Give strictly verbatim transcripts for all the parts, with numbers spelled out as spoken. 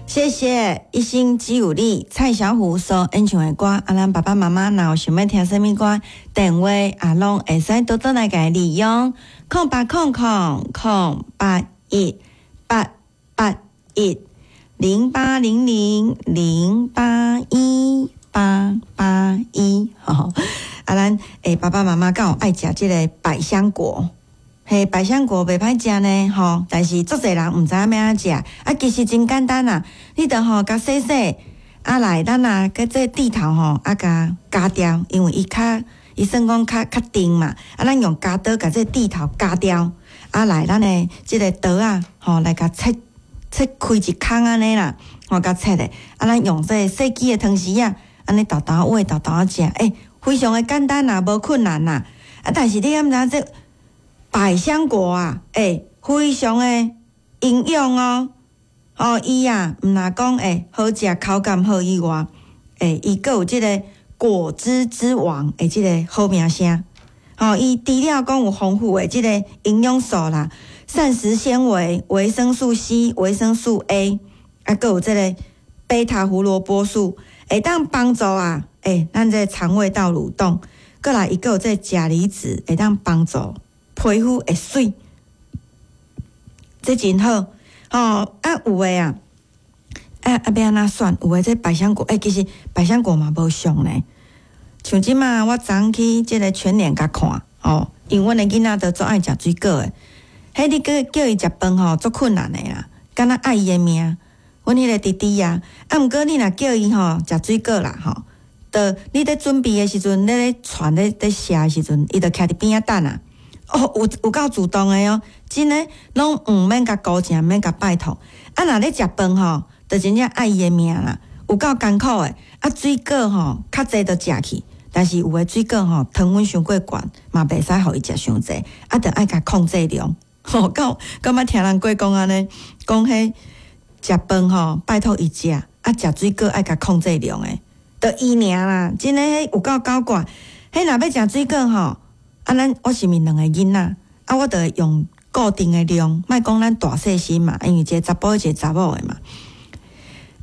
謝謝一心只有你蔡小虎所演唱的歌。啊，咱爸爸媽媽若有想欲聽啥物歌，電話啊攏會使多多來共利用空八空空空八一八八一零八零零零八一八八一。吼，啊，咱欸爸爸媽媽敢有愛食這个百香果？嘿，百香果袂歹食呢，吼！但是足濟人毋知影欲按怎食，啊，其實真簡單啦。你著吼共洗洗，啊來，咱啊佮這蒂頭吼啊共鉸掉，因為伊較伊算講較較甜嘛。啊，咱用鉸刀共這蒂頭鉸掉，啊來，咱的這个刀仔吼來共切切開一空按呢啦，吼共切咧。啊，咱用這个細支的湯匙仔，按呢沓沓仔沓沓仔食，欸，非常的簡單啦，無困難啦。啊，但是你敢知影這百香果啊，欸，非常的營養哦。哦，伊啊，毋若講欸好食口感好以外，欸，伊閣有這个果汁之王的這个好名聲。吼，伊除了講有豐富的這个營養素啦，膳食纖維、維生素 C、維生素 A，啊，閣有這个貝塔胡蘿蔔素，會當幫助啊，欸，咱這个腸胃道蠕動。閣來，伊閣有這个鉀離子，會當幫助皮膚會媠，這真好吼。啊，有的啊，啊啊，欲按怎選？有的這百香果，欸，其實百香果嘛無俗呢。像這馬我昨昏去這个全聯共看，吼，因為阮的囡仔都足愛食水果的。彼你閣叫伊食飯吼，足困難的啦，敢若愛伊的命。阮彼个弟弟啊，啊，毋過你若叫伊吼食水果啦，吼，就你咧準備的時陣，你咧傳咧咧寫的時陣，伊就徛佇邊仔等啊。哦，有有夠主動的哦，真的攏毋免共求情，毋免共拜託。啊，若咧食飯吼，就真正愛伊的命啦，有夠艱苦的。啊，水果吼較濟就食去，但是有的水果吼糖分傷過懸，嘛袂使予伊食傷濟，啊，著愛共控制量。吼，敢敢捌聽人過講按呢？講彼食飯吼，拜託伊食，啊，食水果愛共控制量的，著伊爾啦，真的彼有夠狡怪。彼若欲食水果吼，啊，咱我是毋是兩个囡仔？啊，我著會用固定的量，莫講咱大細心嘛，因為一个查埔，一个查某的嘛。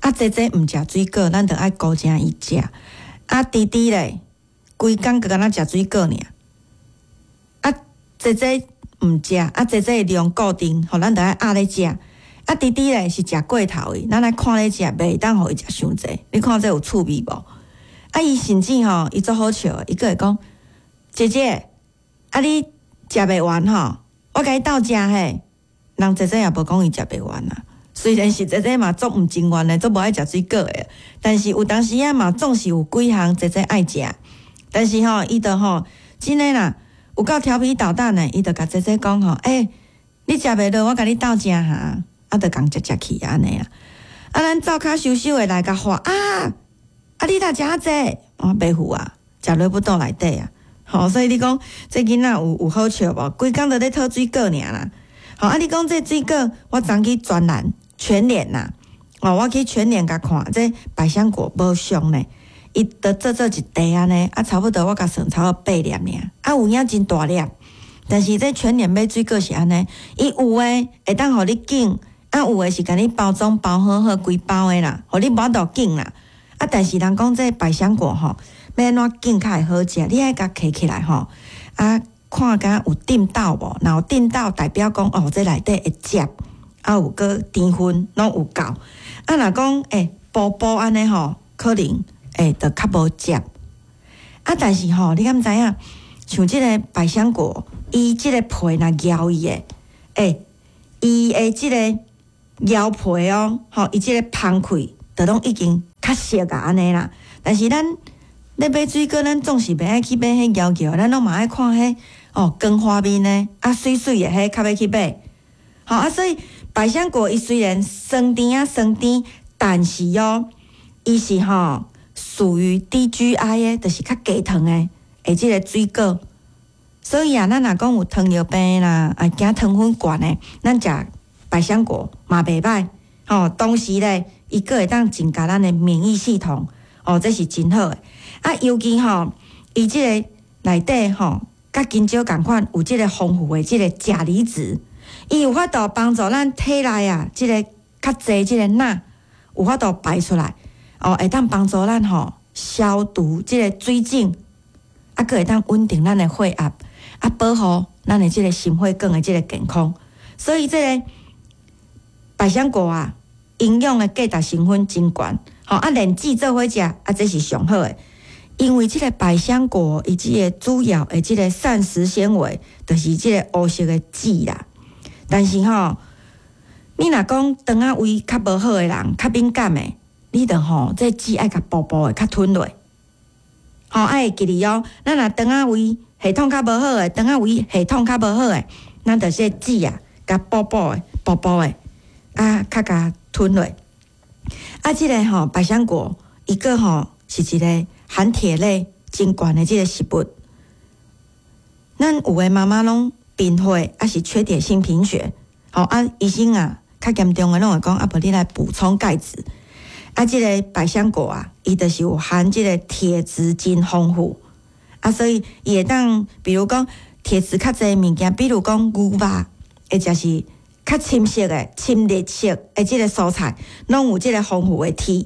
啊，姐姐毋食水果，咱著愛顧正伊食。啊，弟弟咧，規工閣敢若食水果爾。啊，姐姐毋食，啊，姐姐的量固定，予咱著愛壓咧食。啊，弟弟咧是食過頭的，咱愛看咧食，袂當予伊食傷濟。你看這有趣味無？啊，伊甚至吼，伊足好笑的，伊閣會講：姐姐，啊你食袂完吼，我共你鬥食嘿。人姐姐也無講伊食袂完啊。雖然是姐姐嘛足毋情願的，足無愛食水果的，但是有當時仔嘛總是有幾項姐姐愛食。但是吼，伊就吼真的啦，有夠調皮搗蛋的，伊就共姐姐講吼，欸，你食袂落，我共你鬥食哈，啊，就共食食去按呢啦。啊，咱灶跤溼溼的來共喝啊，啊，你若食遮濟，我袂赴啊，食落腹肚內底啊。吼，所以你講這囡仔有有好笑無？規工都咧討水果爾啦。吼，啊，你講這水果，我昨去專欄全聯啦，哦，我去全聯共看，這百香果無俗呢，伊都做做一袋按呢，啊，差不多我共算差不多八粒爾，啊，有影真大粒。但是這全聯買水果是按呢，伊有的會當予你揀，啊，有的是共你包裝包好好規包的啦，予你無法度揀啦。啊，但是人講這百香果吼，欲按怎揀較會好食？你愛共揢起來吼，啊，看敢有振抖無？若有振抖，代表講哦，這內底會汁，啊有閣甜分攏有夠。啊，若講欸薄薄按呢吼，可能欸就較無汁。啊，但是吼，你敢知影？像這个百香果，伊這个皮若咬伊的，欸，伊的這个咬皮哦，吼，伊這个芳氣就攏已經較熟啊，按呢啦。但是咱咧買水果，咱總是袂愛去買彼搖搖，咱攏嘛愛看彼哦光滑面的啊，媠媠的彼較欲去買。吼啊，所以百香果伊雖然酸甜仔酸甜，但是哦，伊是吼屬於低 G I 的，就是較低糖的，的這个水果。所以啊，咱若講有糖尿病啦，啊驚糖分懸的，咱食百香果嘛袂䆀。吼，同時咧，伊閣會當增加咱的免疫系統，哦，這是真好的。啊，尤其吼，伊這个內底吼，佮香蕉仝款有這个豐富的這个鉀離子，伊有法度幫助咱體內啊，這个較濟這个鈉，有法度排出來，哦，會當幫助咱吼消毒這个水腫，啊，閣會當穩定咱的血壓，啊，保護咱的這个心血管的這个健康。所以這个百香果啊，營養的價值成分真懸，吼啊，連籽做伙食，啊，這是上好的。因為這个百香果伊這个主要的這个膳食纖維，就是這个烏色的籽啦。但是吼，你若講腸仔胃較無好的人，較敏感的，你著吼這籽愛共薄薄的，較吞落，吼愛會記得哦。咱若腸仔胃系統較無好的，腸仔胃系統較無好的，咱著這籽啊，共薄薄的、薄薄的，啊，較共吞落。啊，這个吼百香果，伊閣吼是一个含鐵類真懸的這个食物。咱有的媽媽攏貧血，抑是缺鐵性貧血，吼啊，醫生啊，較嚴重的攏會講，啊，無你來補充鈣質。啊，這个百香果啊，伊就是有含這个鐵質真豐富，啊，所以伊會當，比如講鐵質較濟的物件，比如講牛肉，或者是較深色的、深綠色的這个蔬菜，攏有這个豐富的鐵。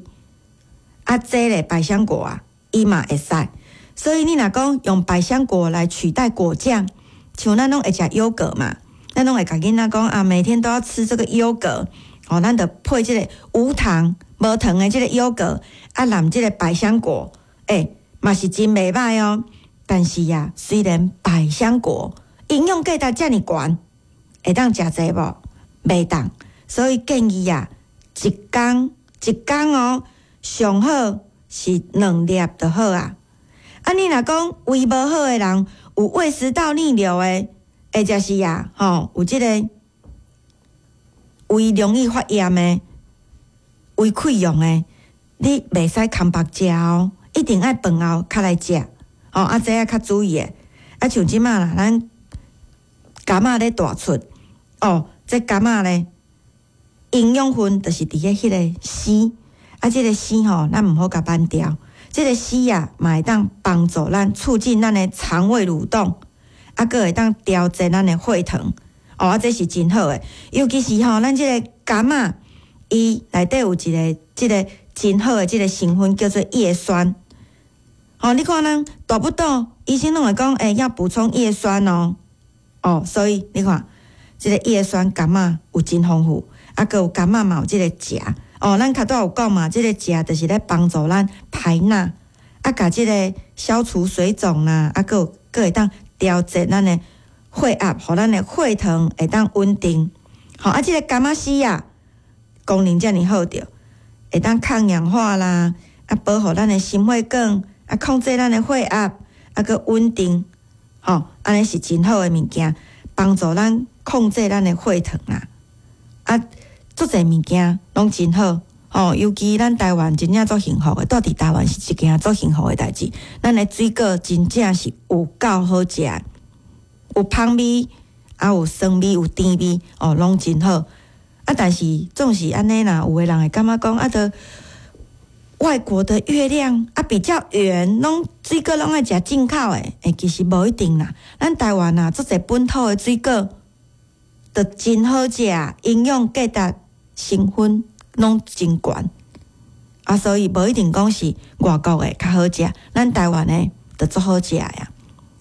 啊，這个百香果啊，伊嘛會使。所以你若講用百香果來取代果醬，像咱攏會食優格嘛，咱攏會共囡仔講啊，每天都要吃這个優格，哦，咱就配這个無糖、無糖的這个優格，啊，淋這个百香果，欸，嘛是真袂䆀哦。但是呀，雖然百香果營養價值遮爾懸，會當食濟無？袂當。所以建議啊，一工一工哦，上好是兩粒就好啊。啊，你若講胃無好的人，有胃食道逆流的，或者是啊，吼，有這个胃容易發炎的、胃潰瘍的，你袂使空腹食哦，一定愛飯後較來食。哦，啊，這愛較注意的。啊，像這馬啦，咱柑仔咧大出，哦，這柑仔咧營養分就是佇咧彼个絲，啊，這个絲吼，咱毋好共挽掉。這个絲啊，嘛會當幫助咱促進咱的腸胃蠕動，啊，閣會當調節咱的血糖。哦，啊，這是真好的。尤其是吼，咱這个柑仔，伊內底有一个這个真好的這个成分，叫做葉酸。吼，你看咱大肚肚，醫生攏會講，欸，要補充葉酸哦。哦，所以你看，這个葉酸柑仔有真豐富，啊，閣有柑仔嘛有這个鉀。哦，咱較拄有講嘛，這个鉀就是咧幫助咱排鈉，啊，共這个消除水腫啦，啊，閣有閣會當調節咱的血壓，予咱的血糖會當穩定。吼，啊，這个柑仔絲啊，功能遮爾好著，會當抗氧化啦，啊，保護咱的心血管，啊，控制咱的血壓，啊，閣穩定，吼，按呢是真好的物件，幫助咱控制咱的血糖啦。啊，足濟物件攏真好，吼，尤其咱台灣真正足幸福的，蹛佇台灣是一件足幸福的代誌。咱的水果真正是有夠好食，有芳味，啊有酸味，有甜味，哦，攏真好。啊，但是總是按呢啦，有的人會感覺講啊，著外國的月亮啊比較圓，攏水果攏愛食進口的，欸，其實無一定啦。咱台灣啊，足濟本土的水果，都真好食，營養價值成分攏真懸。啊，所以無一定講是外國的較好食，咱台灣的就足好食呀。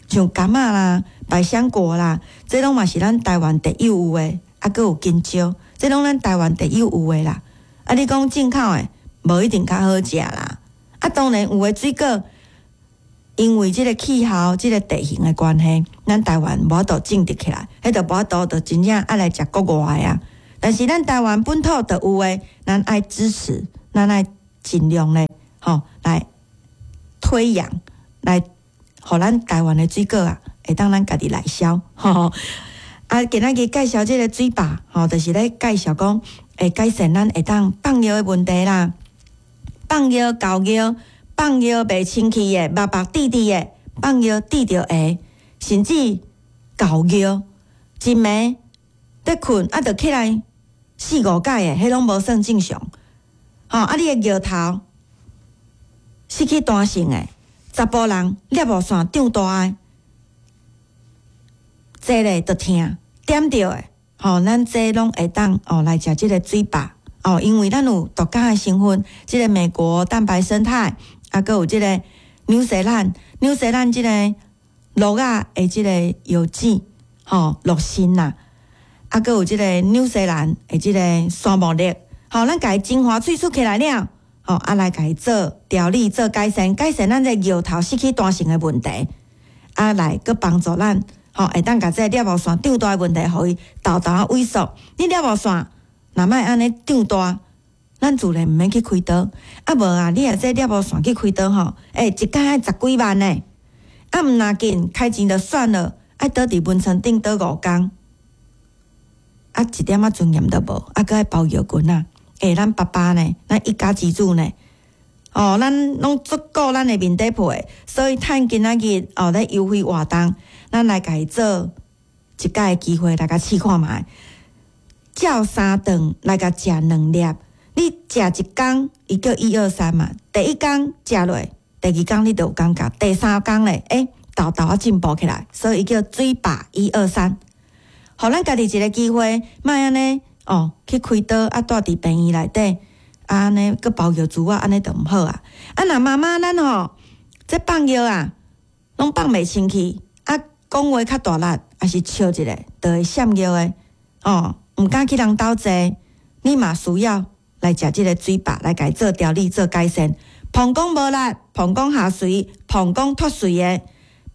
像柑仔啦、百香果啦，這攏嘛是咱台灣特有有的，啊，閣有香蕉，這攏咱台灣特有有的啦。啊，你講進口的，無一定較好食啦。啊，當然有的水果，因為這个氣候、這个地形的關係，咱台灣無法度種植起來，彼就無法度就真正愛來食國外的啊。但是咱台灣本土就有的，咱愛支持，咱愛盡量咧，吼來推揚，來予咱台灣的水果啊，會當咱家己來銷。吼。啊，今仔日介紹這个水壩，吼，就是咧介紹講會改善咱會當放尿的問題啦。放尿、猴尿、放尿袂清氣的、目目滴滴的，放尿滴著下，甚至猴尿，一暝咧睏啊，著起來四五擺的，彼攏無算正常。吼，啊，你的尿頭失去彈性的，查埔人攝護腺長大的，坐咧就疼，點著的，吼，咱這攏會當哦來食這个水壩，哦，因為咱有獨家的成分，這個美國蛋白胜肽，啊，閣有這個紐西蘭紐西蘭這個鹿仔的這個藥劑，吼，鹿腎啦，啊，閣有這個紐西蘭的這個山木力，吼，咱共伊精華萃取起來了，吼，啊，來共伊做調理、做改善，改善咱這個尿頭失去彈性的問題，啊，來閣幫助咱，吼，會當共這個尿路腺長大的問題，予伊沓沓仔萎縮。你尿路腺若莫按呢長大，咱自然毋免去開刀。啊無啊，你若這尿路腺去開刀吼，欸，一工愛十幾萬呢。啊毋若緊開錢就算了，愛倒佇眠床頂倒五工，啊一點仔尊嚴都無，啊閣愛包尿裙仔。欸，咱爸爸呢，咱一家之主呢，哦，咱攏足顧咱的面底皮，所以趁今仔日哦咧優惠活動，咱來共伊做一擺的機會來共試看覓。照三頓來共食兩粒，你食一工，伊叫一二三嘛。第一工食落，第二工你就有感覺，第三工咧，欸，沓沓仔進步起來，所以伊叫水飽一二三。予咱家己一個機會，莫按呢哦去開刀啊，蹛佇病院內底，啊按呢閣包藥珠仔，按呢就毋好啊。啊，若媽媽咱吼，這放尿啊，攏放袂清氣，啊，講話較大力，抑是笑一下，就會閃尿的，哦。毋敢去人兜坐，你嘛需要來食這個水飽，來共伊做調理、做改善。膀胱無力、膀胱下垂、膀胱脫垂的、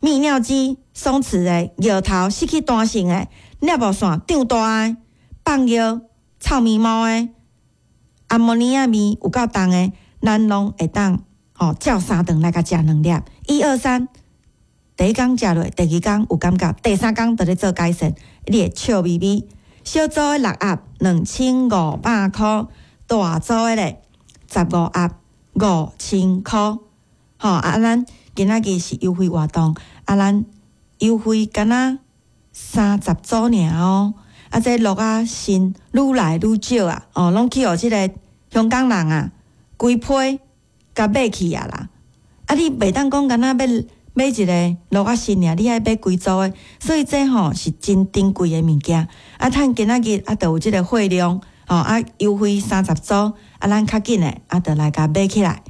泌尿肌鬆弛的、尿頭失去彈性的、尿路腺長大的、放尿臭毛毛的、阿摩尼亞味有夠重的，咱攏會當吼照三頓來共食兩粒，一二三，第一工食落，第二工有感覺，第三工就咧做改善，你會笑眯眯。小組的六盒兩千五百箍，大組的咧十五盒五千箍。吼啊，咱今仔日是優惠活動，啊，咱優惠敢若三十組爾哦。啊，這鹿仔腎愈來愈少啊，哦，攏去予這個香港人啊，規批共買去啊啦。啊，你袂當講敢若欲買一個鹿仔腎爾，你愛買規組的，所以這吼是真珍貴的物件。啊，趁今仔日啊，就有這個貨量，吼啊，優惠三十組，啊，咱較緊的啊，就來共買起來，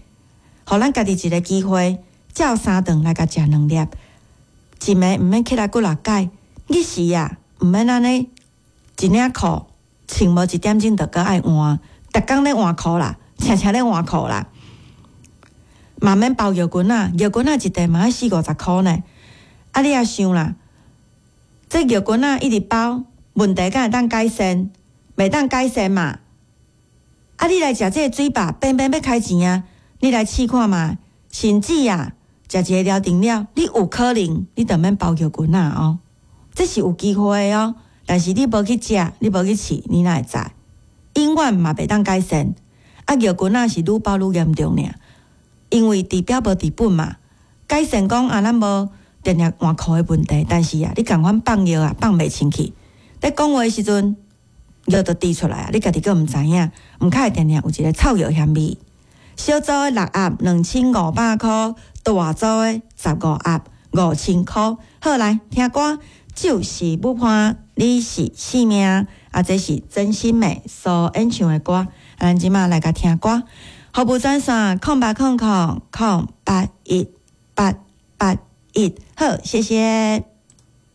予咱家己一個機會，照三頓來共食兩粒，一暝毋免起來幾若擺，日時啊，毋免按呢一領褲穿無一點鐘就閣愛換，逐工咧換褲啦，常常咧換褲啦。嘛免包尿裙仔，尿裙仔一袋嘛愛四五十箍呢。啊，你也想啦，這尿裙仔一直包，問題敢會當改善？袂當改善嘛。啊，你來食這個水飽，平平欲開錢啊！你來試看覓，甚至啊，食一個療程了，你有可能你就免包尿裙仔哦。這是有機會的哦，但是你無去食，你無去試，你哪會知？永遠嘛袂當改善。啊，尿裙仔是愈包愈嚴重爾。因為治標無治本嘛，改善講啊，咱無定定換褲的問題，但是啊，你仝款放尿啊，放袂清氣。咧講話的時陣，尿就滴出來啊，你家己閣毋知影，毋較會定定有一個臭尿嫌味。小組的六盒兩千五百箍，大組的十五盒五千箍。好，來聽歌，就是舞伴，你是生命，啊，這是曾心梅所演唱的歌。啊，咱這馬來共聽歌。服務專線空八空空空八一八八一，好，謝謝。